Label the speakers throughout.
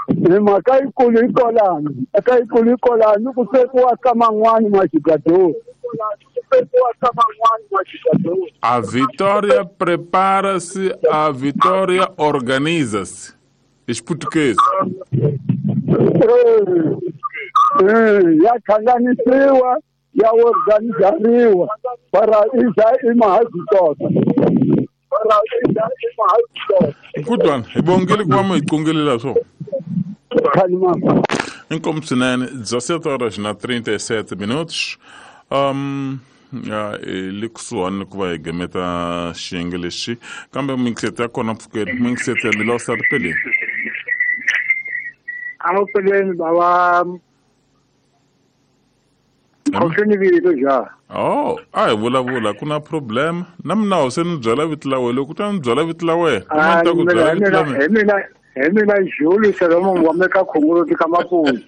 Speaker 1: Hi mhaka yikulu yi kolani, mhaka yikulu yi kolani ku swekiwa ka man'wani majugador.
Speaker 2: A vitória prepara-se, a vitória organiza-se. Xiputukezi.
Speaker 1: Ya hlanganisiwa ya organizariwa para iza imahazitota.
Speaker 2: Mkudwana, hi bongile ku va mi hi qongelela swo. Inkomu swinene, 17 horas na 37 minutos. Le kusuhani ku va hi gemeta xiyenge lexi kambe minkiseto ya kona pfukeli minkiseto ya milosa ri peleni.
Speaker 3: A peleni bava khohlweni vito ja.
Speaker 2: Oh, a hi vulavula ku na problem na mina se ni byela vito la wena loko u ta ni byela vito la wena
Speaker 3: ni ta ku byela vito la mina. Hi mina Jules Solomon wa meka khongoloti ka Maputo.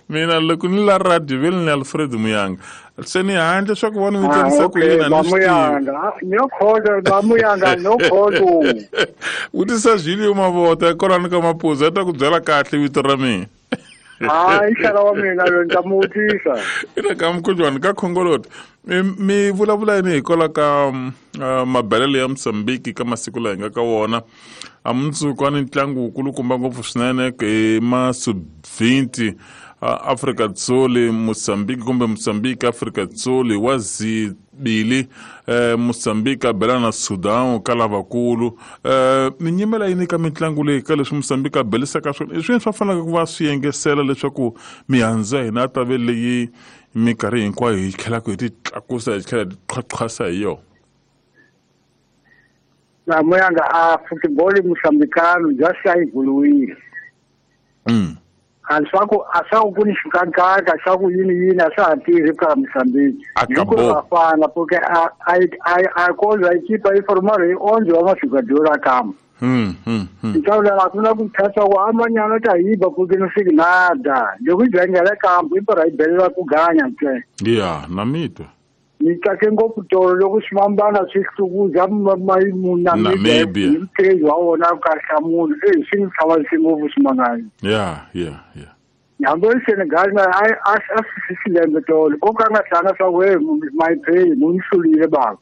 Speaker 2: Mina loko ni la radio vele ni Alfred Muyanga. Se ni handle swa ku vona mi tsarisa ku yini
Speaker 3: ni Muyanga. No khoto ba Muyanga no khoto.
Speaker 2: Vutisa Julio Mavota kwalano ka Maputo a ta ku byela kahle vito ra mina.
Speaker 3: Hayi xala wa mina loyi ni ta mu vutisa.
Speaker 2: Ina ka mukhuhlwani ka khongoloti. Mi vulavula yini hikwalaho ka mabelelo ya Mozambique ka masiku laha hi nga ka wona? A mundzuku a ni ntlangu wukulukumba ngopfu swinene hi ma sub-20 Afrika Dzonga Mozambique kumbe Mozambique Afrika Dzonga wa zibili Mozambique a belana na Sudan ka lavakulu. Mi nyimela yini ka mitlangu leyi ka leswi Mozambique a belisaka swona? I swini swa faneleke ku va swi yengesela leswaku mihandzu ya hina ta ve leyi minkarhi hinkwayo hi tlhelaka hi ti tlakusa hi tlhela hi ti qhaqhasa hi yona?
Speaker 3: Na Muyanga a football mozambicano just a yi vuriwile. A swa ku ni xikakaka swa ku yini yini a swa ha tirhi ka Mozambique.
Speaker 2: Acabou.
Speaker 3: A fana porque a coisa a equipe aí formaram aí onde wa jogador a kama. Então lá kuna ku thatha ku amanyana ta yiba porque não fica nada. Loko jangela kampo i para ibela ku ganya ntle.
Speaker 2: Yeah, na mito.
Speaker 3: Ni tsake ngopfu tolo loko swimambana swi hlukuza Namibia ntirho wa wona ka hlamula swi ni hlamarisi ngopfu swimangani.
Speaker 2: Yeah.
Speaker 3: Hambi Senegal na a swi lembe tolo ko ka nga hlanga swa we my pay mu ni hlulile baba.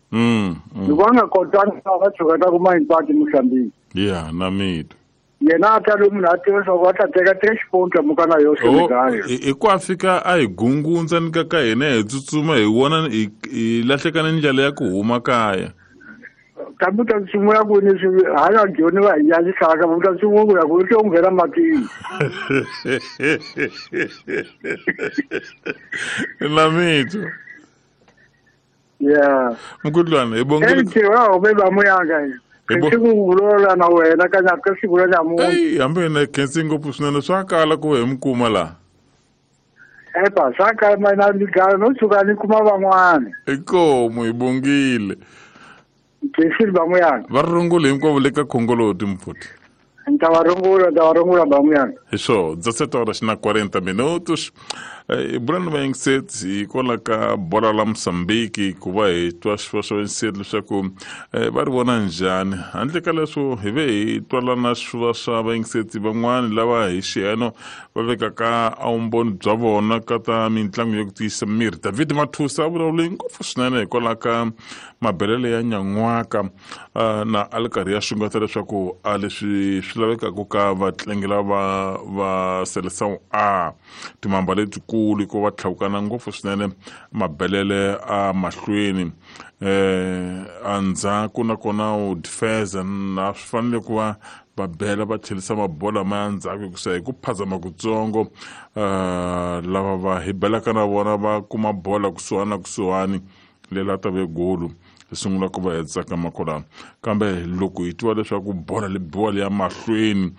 Speaker 3: Loko a nga kotanga va tshuka ta ku mayimpati Mozambique.
Speaker 2: Yeah, na mito.
Speaker 3: Yena a ta lomu munhu a tiva swa ku va ta teka 3 points muka na yo Senegal.
Speaker 2: I ku a fika a hi gungundza ni ka hina hi tsutsuma hi vona hi lahlekana ndlela ya ku huma kaya.
Speaker 3: Kambe ta sungula ku ni swi hala joni va hi yalisaka va ta sungula ku ku nghena matini.
Speaker 2: Na mito.
Speaker 3: Yeah.
Speaker 2: Mkudlwana hi bongile.
Speaker 3: Ntirho wa ba Muyanga. Siku na wena ka nyaka siku la namuntlha.
Speaker 2: Ey, hambi hina khensi ngopfu swinene swa kala ku hi mi kuma laha.
Speaker 3: Epa, swa kala mina ni gala no tshuka ni kuma van'wana.
Speaker 2: Inkomu hi bongile.
Speaker 3: Khensi ba Muyanga.
Speaker 2: Va rungula hinkwavo le ka khongoloti mpfuti.
Speaker 3: Ni ta va rungula ba Muyanga.
Speaker 2: Hi swo, 17 horas na 40 minutos. Hi bula ni vayingiseti hikwalaho ka bola la Mozambique ku va hi twa swa vayingiseti leswaku va ri vona njhani. Handle ka leswo hi ve hi twalana swiva swa vayingiseti van'wani lava hi xiyeno va vekaka a vumbhoni bya vona ka ta mitlangu ya ku tiyisa miri. David Mathusa a vulavule ngopfu swinene hikwalaho ka mabelele ya nyan'waka na a li karhi ya xungeta leswaku a leswi swi lavekaka ka vatlangi lava va Seleção A timamba letikulu ku va tlhawukana ngopfu swinene mabelele a mahlweni endzhaku nakona u defense na swi fanele ku va va bela va tlhelisa mabola ma ya ndzhaku hikusa hi ku phazama kutsongo lava va hi belaka na vona va kuma bola kusuhani na kusuhani lela ta ve golu hi sungula ku va hi tsakama kwalano. Kambe loko hi twa leswaku bola li biwa li ya mahlweni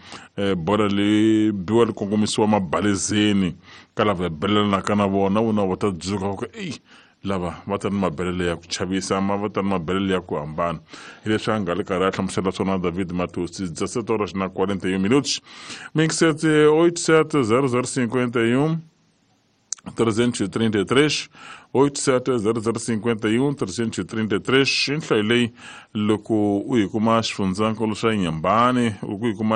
Speaker 2: bola li biwa li kongomisiwa mabalezeni ka lava hi belelanaka na vona vona va ta dzuka va ku eyi lava va ta ni mabelele ya ku chavisa ma va ta ni mabelele ya ku hambana. Hi leswi a nga le karhi a hlamusela swona David Matusi. 17 horas na 41 minutos. Mixete 87 0051 333 87 0051 333 i nhlayo leyi loko u yi kuma xifundzankulu xa Nyambani u ku yi kuma